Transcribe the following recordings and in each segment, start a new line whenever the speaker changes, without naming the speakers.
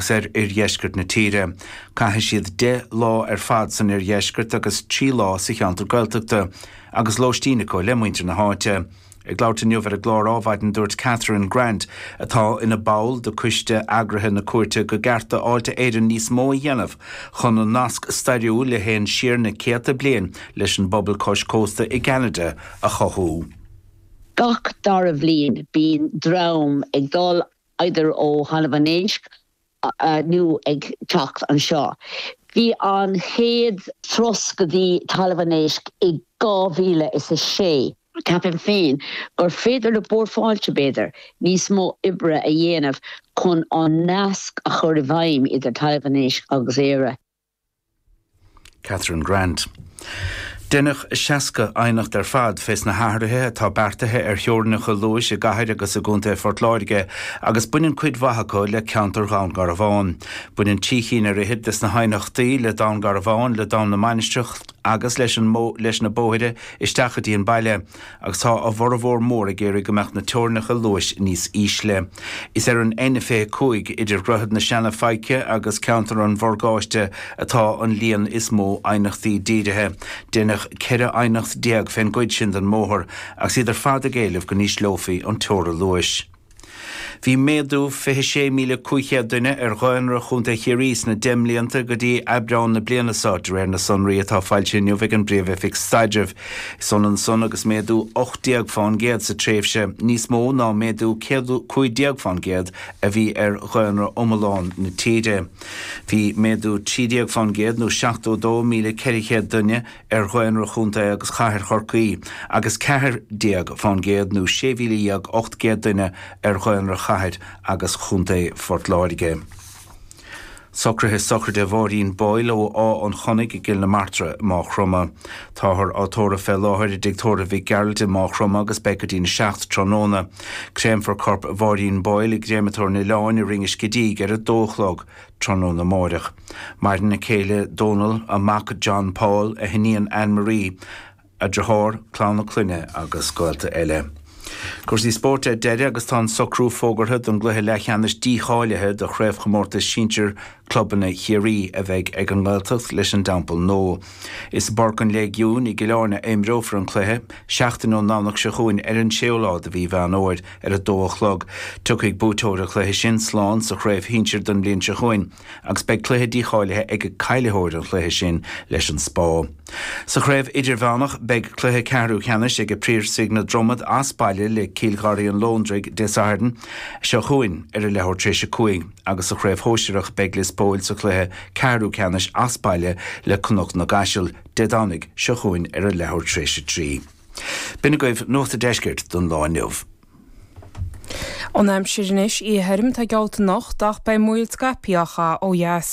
agus ar oirdheisceart na tíre. Caithfidh siad 10 lá ar fad san oirdheisceart agus 3 lá sa cheantar Gaeltachta agus lóistín acu le muintir na háite. Ag labhairt inniu ar an gclár Ádhmhaidin dúirt Catherine Grant, atá ina ball de coiste eagraithe na cuairte, go gceart do Fháilte Éireann níos mó a dhéanamh chun an nasc stairiúil a théann siar na céadta bliain leis an bpobal cois cósta i gCeanada a chothú.
Gach dara bhliain bíonn dream ag dul either ó Thalamh an Éisc nó ag teacht anseo. Bhí an chéad turas go dtí Talamh an Éisc i 2006. Ceapaim féin gur féidir le Bord Fáilte, b'fhéidir, níos mó oibre a dhéanamh chun an nasc a chur i bhfeidhm idir Talamh an Éisc agus Éire.
Catherine Grant. Deineadh 60 aighneacht ar fad fés na hathruithe atá beartaithe ar theorainneacha luais i gcathair agus i gcontae Phort Láirge agus baineann cuid mhaith acu le ceantar Dhún Garbhán. Baineann trí chinn ar fhichead des na haighneachtaí le Dún Garbhán, le Dún na Mainistreach agus leis an leis na bóithre isteach go dtí an baile. Agus tá a bhformhór mór ag iarraidh go mbeadh na teorainneacha luais níos ísle. Is ar an N25 idir Dhroichead na Seana-Faiche agus ceantar an Mhorgáiste atá an líon is mó aighneachtaí dírithe. Deineadh 14 aighneacht fén gcuid sin den mbóthar agus iad ar fad ag éileamh go n-ísleofaí an teora luais. Bhí méadú 26,500 duine ar dhaonra Chontae Chiarraí sna 10 mblianta go dtí Aibreán na bliana seo, de réir na sonraí atá foilsithe inniu ag an bPríomh-Oifig Staidrimh. Is ionann san agus méadú 18 fán gcéad sa tréimhse, níos mó ná méadú 15 fán gcéad a bhí ar dhaonra iomlán na tíre. Bhí méadú 13 fán gcéad nó 72,400 duine ar dhaonra Chontae agus Chathair Chorcaí agus 14 fán gcéad nó 16,800 duine ar dhaonra Chathair agus Chontae Phort Láirge. Socruithe sochraide Mháirín Boyle ó Áth an Chonnaigh i gCill na Martra i Máigh Chromtha. Táthar á tórramh fé láthair i dTigh Tórraimh Mhic Gearailt i Máigh Chromtha agus beidh go dtí'n 7 tráthnóna. Créamfar corp Mháirín Boyle i gCréamatóir an Oileáin i Rinn an Scidígh ar a dó a chlog tráthnóna amáireach. Maireann a céile Dónal, a mac John Paul, a hiníon Anne Marie, a deartháir, clann a clainne agus gaolta eile. Cúrsaí spóirt ar deireadh agus tá an socrú fógartha don gcluiche leathcheannais dícháilithe do Chraobhchomórtas Sinsir Clubanna Chiarraí a bheidh ag an nGaeltacht leis an dTeampall Nua. Is i bPáirc an Léigiúin i gCill Airne a imreofar an cluiche, seachtain ón nDomhnach seo chugainn ar an séú lá de mhí Mheán Fhómhair ar a dó a chlog. Tiocfaidh buaiteoir an chluiche sin slán sa chraobh shinsir don bhliain seo chugainn agus beidh cluiche dícháilithe ag caillitheoir an chluiche sin leis an Spá. Sa chraobh idirmheánach beidh cluiche ceathrú ceannais ag Piarsaigh na Dromad as baile le Cill Gharraí an Lóndraigh Dé Sathairn seo chugainn ar a leathuair tar éis a 5 agus sa chraobh shóisearach beidh Lios Póil sa chluiche ceathrú ceannais as baile le Cnoc na gCaiseal Dé Domhnaigh seo chugainn ar a leathuair tar éis a 3. B'in agaibh Nuacht an Deiscirt don lá inniu.
An aimsir anois, oíche thirim atá geallta anocht ach beidh múraíl scaipthe á chaitheamh ó dheas.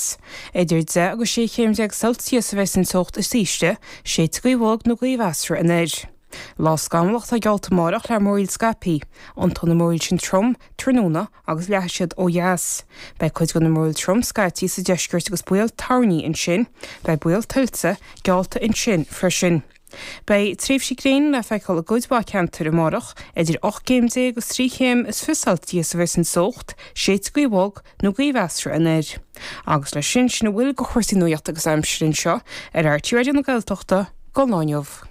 Idir 10 agus 16 chéim Celsius a bheas an teocht is ísle, séidfidh gaoth bhog nó gaoth mheasartha anoir. Lá scamallach atá geallta amárach le múraíl scaipthe. Tiontóidh na múraíl sin trom tráthnóna agus leathfaidh siad ó dheas. Beidh cuid de na múraíl trom scaití sa deisceart agus baol toirní ansin. Beidh baol tuilte geallta ansin freisin. Beidh tréimhsí gréine le feiceáil i gcuid mhaith ceantar amárach, idir 18 gcéim agus 23 chéim Celsius a bheas an teocht, séidfidh gaoth bhog nó gaoth mheasartha anoir. Agus leis sin, sin a bhfuil de chúrsaí nuachta agus aimsire anseo ar RTÉ Raidió na Gaeltachta don lá inniu.